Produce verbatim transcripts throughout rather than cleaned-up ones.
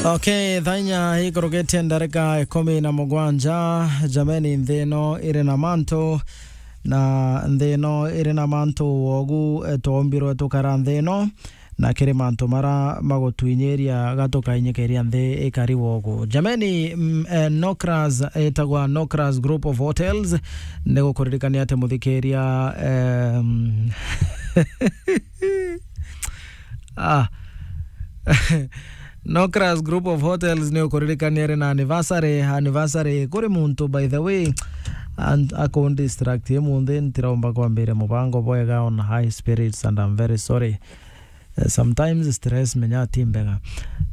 Okay, thaa inya ikurukitie ndarika ikumi na mugwanja. Jameni, nthi ino iri na mantu, na nthi ino iri na mantu wogu, eh, twaumbirwe tukara nthi ino, na kiri mantu mara magutwinyiria gatukainyikiria nthi ikari wogu. Jameni, mm, eh, Nokras, itagwa Nokras Group of Hotels, ni gukuririkania ati muthikiria, em, ah, Nokras Group of Hotels ni ukuririkania ri na anniversary. Anniversary kuri muntu, by the way, and akun distract imunthi, ntiromba kwambire mubango bwega on high spirits, and I'm very sorry. Eh, sometimes stress menya ti mbega.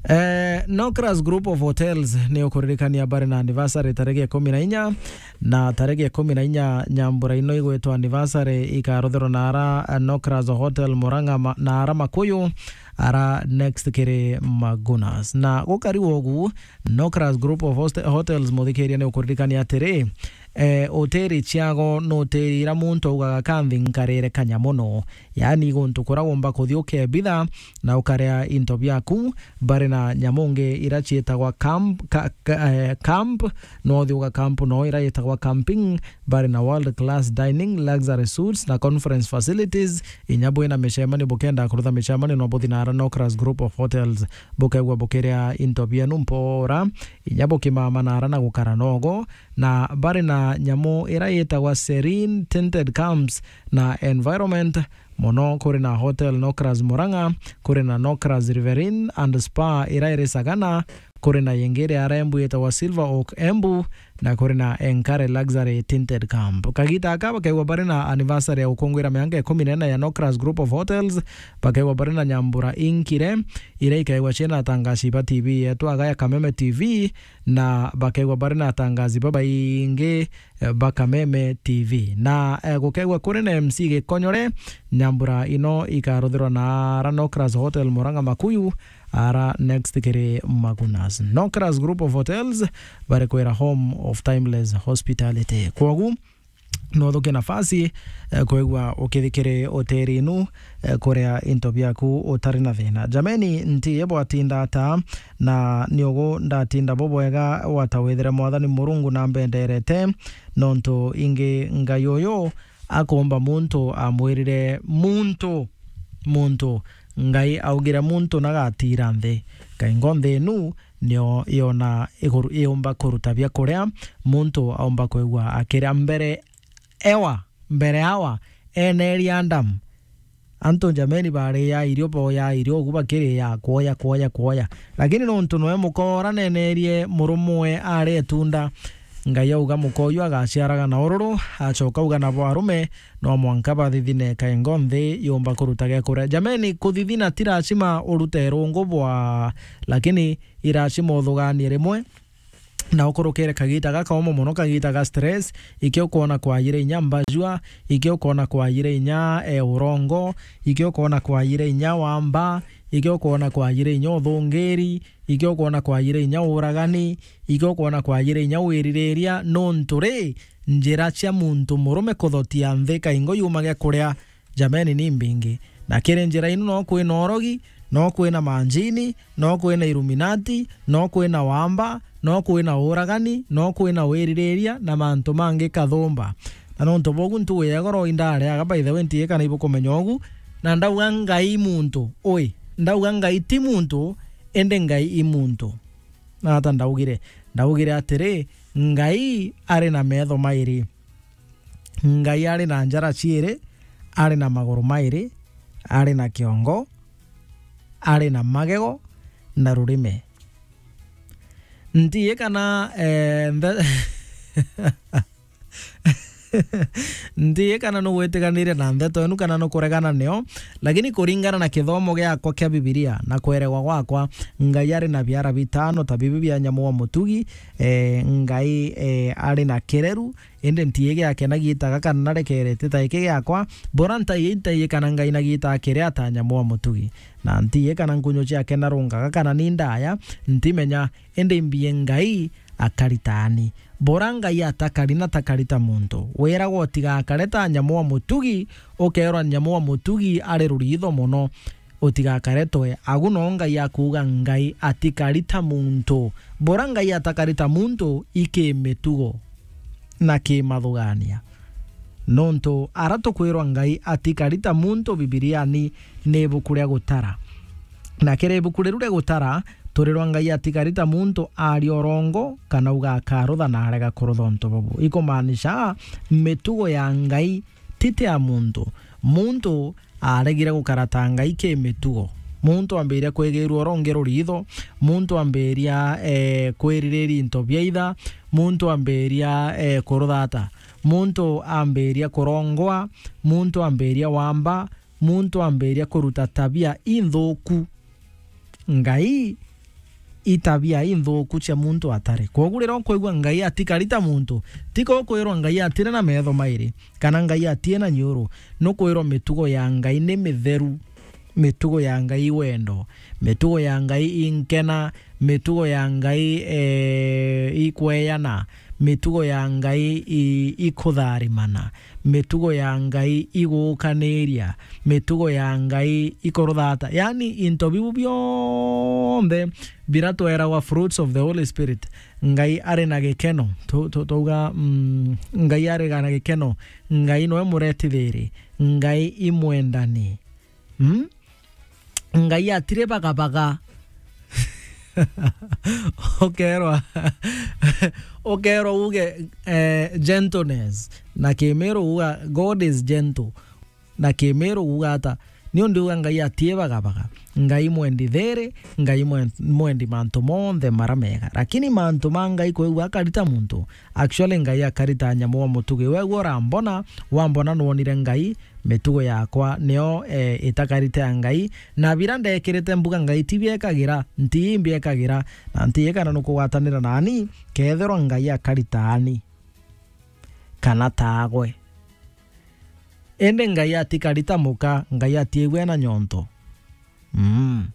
Eh, Nokras Group of Hotels ni ukuririkania bari na anniversary tariki ikumi na inya, na tariki ikumi na inya nyambura ino igwitwa anniversary ikaruthirwa na ara, eh, Nokras Hotel Murang'a ma-, na ara Makuyu, ara next kiri Magunas. Na gukari wogu, Nokras Group of Host-, Hotels, muthikiria, ni ukuririkania atiri, eh, hoteli ciago ni hoteli ira muntu augaga, "Kanthi nkarire kanya muno." Yaani guntu kura womba kuthi ukebitha na ukaria into biaku. Bari na nyamu ngi ira ciitagwa camp, ka-, ka-, eh, camp, no uthi uga camp no ira yitagwa camping. Bari na world class dining, luxury suites na conference facilities. Inya bwina micemanio, bukenda kurutha micemanio, no buthi na ara Nokras Group of Hotels, bukegua bukiria into bienu mpora, inya bukimama na ara na gukara nogo. Na bari na nyamu ira yitagwa Serene Tinted Camps na Environment. Mono kuri na Hotel Nokras Murang'a, kuri na Nokras Riverine and Spa ira iri Sagana, kuri na yingi iri ara Embu yitagwa Silver Oak Embu, na kuri na Enkare Luxury Tinted Camp. Kagita aka bakaigua bari na anniversary ya gukungwira mianka ikumi na ina ya Nokras Group of Hotels, bakaigua bari na nyambura inkire, ira ikaigua ciina atangaci ba T V yetu aga ya Kameme T V, na bakaigua bari na atangazi babaingi, eh, ba Kameme T V. Na, eh, gukaigua kuri na M C Gikonyore, nyambura ino ikaruthirwa na ara Nokras Hotel Murang'a Makuyu, ara next kiri Magunas. Nokras Group of Hotels, bari kwira home of timeless hospitality. Kwogu, no uthuke nafasi, eh, kwigua ukithikiri hoteli inu, eh, kuria into biaku utari na thina. Jameni, nti ye bwatinda ata, na ni ugu ndatinda bubwega wata withire Mwathani Murungu na mbenderete, nontu ingi Ngai uyu akumba muntu amwirire muntu, muntu, Ngai augire muntu nagatira nthi. Kaingo nthi inu nio yona iguru-, iumba kuruta biakuria, muntu aumba kwigua akiria mbere ewa, mbere awa, eneri Adamu. Antu jameni baria irio, boya irio, ugu bakiria, kwoya, kwoya, kwoya. Lakini nontu noe muka ura nenerie murumwe aria itunda, Ngai auga muka uyu agaciaraga na ururu, acoka auga nabo arume, no mwanka bathithine kaingo nthi yumba kuruta gia kuria. Jameni, kuthithina ti lazima urute rungu bwa, lakini i lazima uthuganie rimwe na ukurukire kagita gakauma mono, kagita ga stress, ikio ukoona kwayire inya mbajua, ikio ukoona kwayire inya, eh, urongo, ikio ukoona kwayire inya wamba, ikio ukoona kwayire inya uthungiri, ikio ukoona kwayire inya uragani, ikio ukoona kwayire inya wiririria, nontu ri, njira cia muntu murume kuthotia nthi kaingo yuma gia kuria, jameni, ni mbingi. Na kiri njira inu no kwina urogi, no kwina manjini, no kwina Illuminati, no kwina wamba, no kwina uragani, no kwina wiririria na mantu mangi kathumba. Na nontu bogu ntugu ya igoro indareaga, by the way, ntiye kana ibukumenya ugu, na ndauga Ngai i muntu, ui, ndauga Ngai ti muntu, indi Ngai i muntu. Na ata ndaugire? Ndaugire atiri, Ngai ari na metho mairi. Ngai ari na njara ciiri, ari na maguru mairi, ari na kiongo, ari na magego na rurime. Ntiye kana, eh, nthe-, ntiye kana nugwitiganiria na ntheto enu kana nukuregana nio, lakini kuringana na kithomo giakwa kia Bibilia na kweregwa gwakwa, Ngai ari na biara bitano ta bibi bia nyamu wa mutugi, eh, Ngai, eh, ari na kireru, indi ntiye giake na giita gaka narekerete ta giki giakwa, bora ntaiye, ntaiye kana Ngai na giita akire ata nyamu wa mutugi, na ntiye kana nkunyu ciake na rungaga kana ni ndaya, ntimenya, indi mbie Ngai akari taani. Bora Ngai atakari na takari ta muntu, wiragwa utigakare ta nyamu wa mutugi, ukeerwa nyamu wa mutugi ari ruritho mono. utigakare toe. Agu no Ngai akuuga Ngai atikari ta muntu. Bura Ngai atakari ta muntu i kimitugo na kimathugania. Nontu ara tukwirwa Ngai atikari ta muntu Bibiriani ni ibuku ria Gutara. Na kiri ibuku riru ria Gutara, turirwa Ngai atikari ta muntu aria urongo kana uga akarutha na arega kurutha untu bubu. Ikumaanisha mitugo ya Ngai ti ta ya muntu. Muntu aregire gukara ta Ngai ki mitugo. Muntu ambiria kwigirua urongi ruritho, muntu ambiria, eh, kwiririria into bia itha, muntu ambiria, eh, kuruthata, muntu ambiria kurongwa, muntu ambiria wamba, muntu ambiria kuruta tabia inthuku. Ngai i tabia inthuku cia muntu atari. Kwogu riria ukwigua Ngai atikari ta muntu, ti ko ukwirwa Ngai atiri na metho mairi, kana Ngai atie na nyiuru. Nukwirwa mitugo ya Ngai ni mitheru, mitugo ya Ngai i wendo, mitugo ya Ngai i nkena, mitugo ya Ngai, eh, i kweana, mitugo ya Ngai i, i kutharimana, mitugo ya Ngai i guukaniria, mitugo ya Ngai i kuruthata. Yaani, into biu bionthe bira tweragwa fruits of the Holy Spirit, Ngai ari na gikeno. Tu-, tu-, twauga, mm, Ngai ari na gikeno, Ngai noe mureti thiri, Ngai i mwendani. Mm? Ngai atiri bagabaga. Ukerwa, ukerwa uge, eh, gentleness. Na Kimiru uga, "God is gentle." Na Kimiru uga ata? Ni undu uga Ngai atii bagabaga. Ngai mwendi thiri, Ngai mwen-, mwendi mantu monthe mara mega. Lakini mantu ma Ngai kwigua akari ta muntu, actually Ngai akari ta nyamu wa mutugi. Wegua urambona, wambona nwonire Ngai, mitugo yakwa niyo, eh, itakari ta ya Ngai, na bira ndekirite mbuga Ngai ti biekagira, nti imbiekagira, na nti ikana nukugwatanira nani, kethirwa Ngai akari taani, kana taagwe. Indi Ngai atikari ta muka, Ngai atiigwe na nyonto. Mm.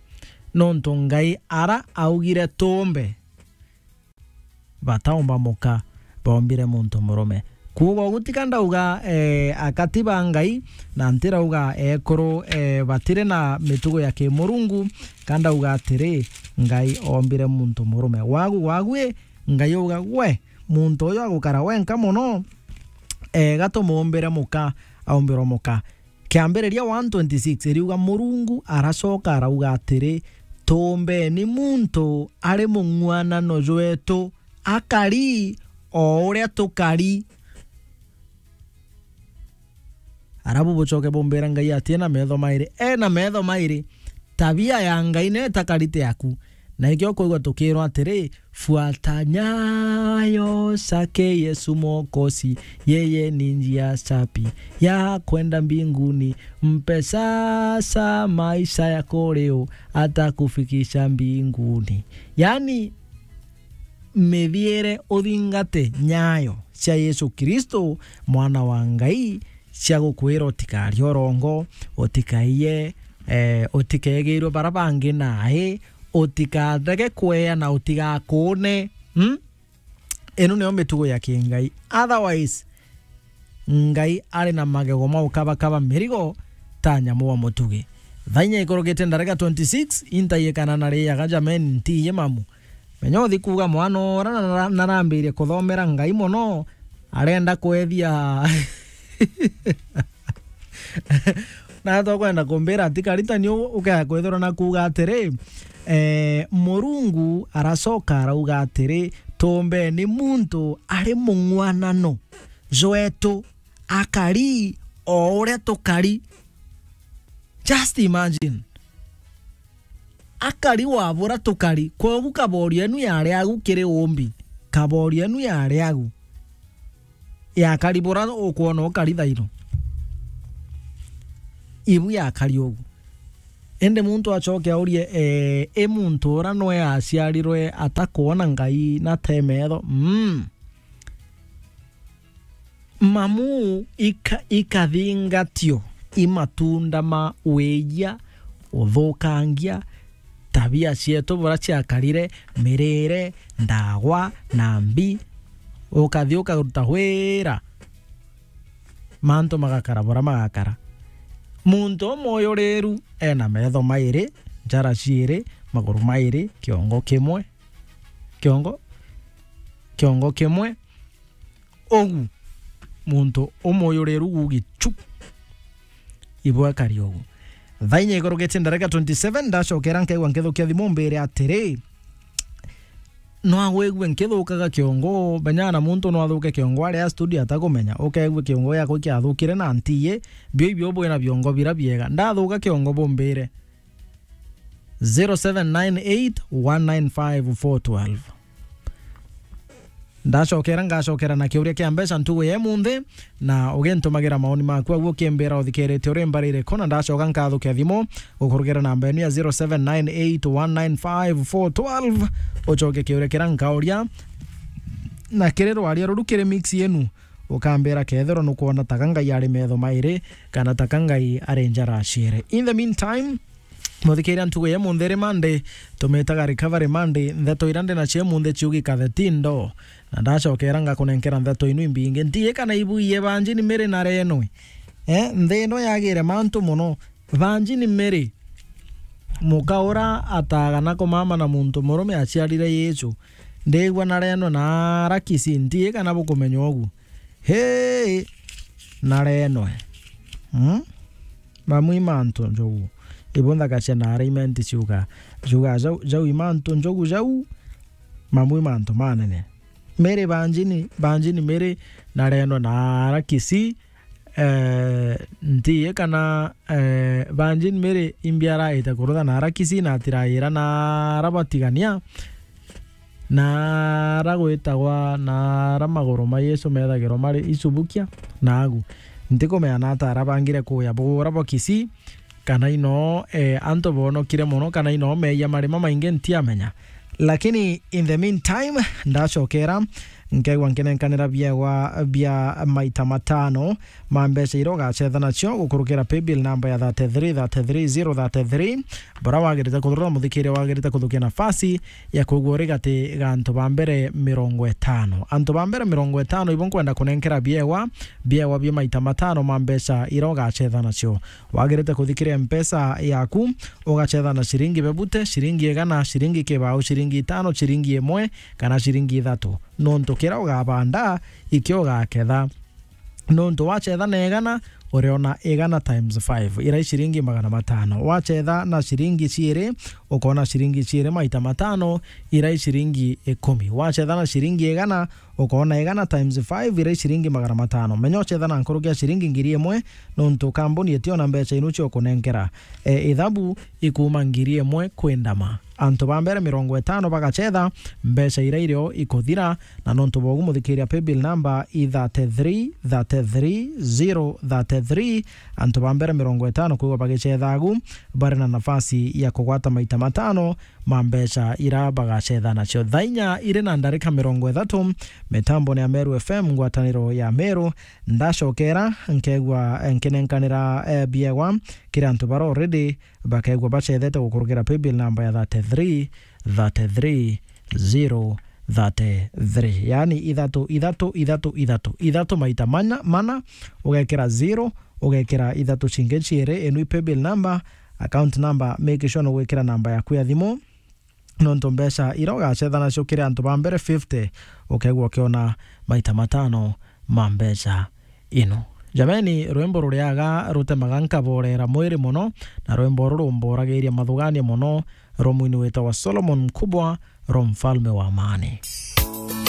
Nontu Ngai ara augire tuumbe, bataumba muka, baumbire muntu murume. Kuuga ugu ti ka ndauga, eh, akati ba Ngai, na ntirauga ekuru, eh, batiri na mitugo ya kimurungu, ka ndauga atiri, Ngai ombire muntu murume. Wagu, wagu i, Ngai auga, "Gwe, muntu uyu agukara wenka mono, eh, ga tumuumbire muka, aumbirwe muka." Kiambiriria one twenty-six iriuga, Murungu aracoka arauga atiri, "Tuumbeni muntu ari mung'uanano jwetu, akari o uria tukari." Arabu bucoke bumbira Ngai atie na metho mairi. E na metho mairi. Tabia ya Ngai ni itakari ta yaku. Na ikio kwigua tukirwa atiri, "Fuata nyayo zake Yesu Mwokozi, yeye ni njia safi ya kwenda mbinguni. Mpe sasa maisha yako leo, atakufikisha mbinguni." Yaani, mithiire uthingate nyayo cia Yesu Kristo, Mwana wa Ngai, cia gukwira utikarie urongo, utikaiye, eh, utikegirwe bara bangi nae, utikathege kweana, utigakuune. Hmm? Ino niyo mitugo ya kingai. Otherwise, Ngai ari na magego ma ukabakaba mirigo ta nyamu wa mutugi. Thainya ikurukite ndarika twenty-six, intaiyikana na riaga, jameni, ntiiye mamu. Menya uthi kuuga mwana ura na-, na-, narambirie kuthomera Ngai mono, arenda kwethia. Na tokwenda kumbira ati karitani u-, ukaya kwithirwa na kuuga atiri, eh, Murungu aracoka arauga atiri, "Tumbeni muntu ari mung'uanano jwetu, akari o uria tukari." Just imagine. Akari wa bura tukari, kwogu kaborio enu yari agu kiri umbi. Kaborio enu yari agu. Yakari bura ukwona ukari thaino. Ibu yakari ugu. Indi muntu acoke aurie, eh, i muntu ura nwe aciarirwe atakwona Ngai na te metho? Mm. Mamu ika-, ikathingatio i matunda ma wiia, uthukangia, tabia cietu bura ciakarire, mirire, ndagwa, na mbi, ukathi ukaruta wira, mantu magakara bura magakara. Muntu umuyuriru ena metho mairi, njara ciiri, maguru mairi, kiongo kimwe, kiongo, kiongo kimwe, ugu. Muntu umuyuriru gugichu. Ibwakari ugu. Thaa inya ikurukitie ndarika twenty seven, ndacokera nkaigua nkithukia thimu mbire atiri, no agwigue nkithukaga kiongo, menya na muntu no athuke kiongo aria studio atakumenya, ukaigue kiongo giakwa kiathukire na ntiye, bio ibio bwina biongo bira biega. Ndathuka kiongo bumbire. Zero seven nine eight one nine five four twelve. Ndacokera, ngacokera na kiuria kia mbeca ntugu ya munthi, na ugintumagira maoni maku agu ukimbira uthikirite uri mbari iriku, na ndacoka nkathukia thimu gukurukira namba yenu ya zero seven nine eight one nine five four twelve, ucoke kiuria kira nkauria, na kiri rwaria ruru kiri mix yenu, ukambira kethirwa nukwona taka Ngai ari metho mairi, kana taka Ngai ari njara ciiri. In the meantime, muthikiria, ntugu ya munthi ri Monday, tumitaga recovery Monday, ntheto ira ndi nacio munthi ciugika the tindo. Na ndacokera ngakunenkera ntheto inu imbingi. Ntiye kana ibuiye banjini miri na renwe. Eh, nthi ino yagire mantu muno. Banjini miri, muka ura ataaga na kumama na muntu murume aciarire Yesu. Ndigua na renwe na arakisi, ntiye kana bukumenya ugu. Hii, na renwe. Hmm? Mamwe i mantu njogu. Ibu nthaka cia na arraignment ciuga. Ciuga jau, jau i mantu njogu jau. Mamwe i mantu manene. Mary banjini, banjini Mary na renwe na arakisi, eh, ntiye kana, eh, banjini Mary imbi araite kurutha na arakisi na atiraira na arabatigania. Na ara gwitagwa, na ara maguru ma Yesu methagirwa mari icubukia, na agu. Ntikumenya na ata ara bangire kuya bugura bwa Kisii, kana ino, eh, antu bonokire mono, kana ino meeyia mari mamaingi, ntiamenya. Lakini in the meantime, ndacokera, nkaigua nkinenkanira biegwa bia maita matano ma mbeca iria ugacetha nacio gukurukira paybill namba ya thirty-three thirty-three zero thirty-three. Bora wagirite kuthurura muthikiria, wagirite kuthukia nafasi ya kwigua uri gati ga antu ba mbere mirongo itano. Antu ba mbere mirongo itano ibo nkwenda kunenkera biegwa, biegwa bia maita matano ma mbeca iria ugacetha nacio. Wagirite kuthikiria Mpesa yaku, ugacetha na ciringi bebute, ciringi igana, ciringi kibau, ciringi itano, ciringi imwe, kana ciringi ithatu. Nontu kiria ugabanda, ikio ugaketha. Nontu wacetha na igana, uriona igana times five, iria i ciringi magana matano. Wacetha na ciringi ciiri, ukona ciringi ciiri maita matano, iria i ciringi ikumi. Wacetha na ciringi igana, ukona igana times five, iria i ciringi magana matano. Menya ucetha na nkuruki ya ciringi ngiri imwe, nontu kambuni itiona mbeca inu cio kunenkera. E, ithabu ikuma ngiri imwe kwindama. Antu ba mbere mirongo itano bagacetha, mbeca iria irio ikuthira, na nontu bogu muthikiria paybill number i thirty-three thirty-three zero thirty-three. Antu ba mbere mirongo itano kwigwa bagicetha agu, bari na nafasi ya kugwata maita matano ma mbeca ira bagacetha nacio. Thaa inya iri na ndarika mirongo ithatu, mitambone ya Meru F M, ngwataniro ya Meru, ndacokera, nkegwa, eh, nkinenkanira, eh, biegwa kiri antu bara already bakegwa bacethete gukurukira paybill number ya thirty-three thirty-three zero thirty-three. Yaani ithatu, ithatu, ithatu, ithatu, ithatu maita mana, mana, ugekira zero, ugekira ithatu cingi ciiri, inu i paybill number, account number, make sure nugwikira namba yaku ya thimu, nontu mbeca iria ugacetha nacio kiri antu ba mbere fifty, ukegwa ukiona maita matano ma mbeca ino. Jameni, rwimbo ruriaga rutemaga nkaborera mwiri mono, na rwimbo ruru rumboragiria mathugania mono, rwa mwini witagwa Solomon Mkubwa, rwa Mfalme wa Amani.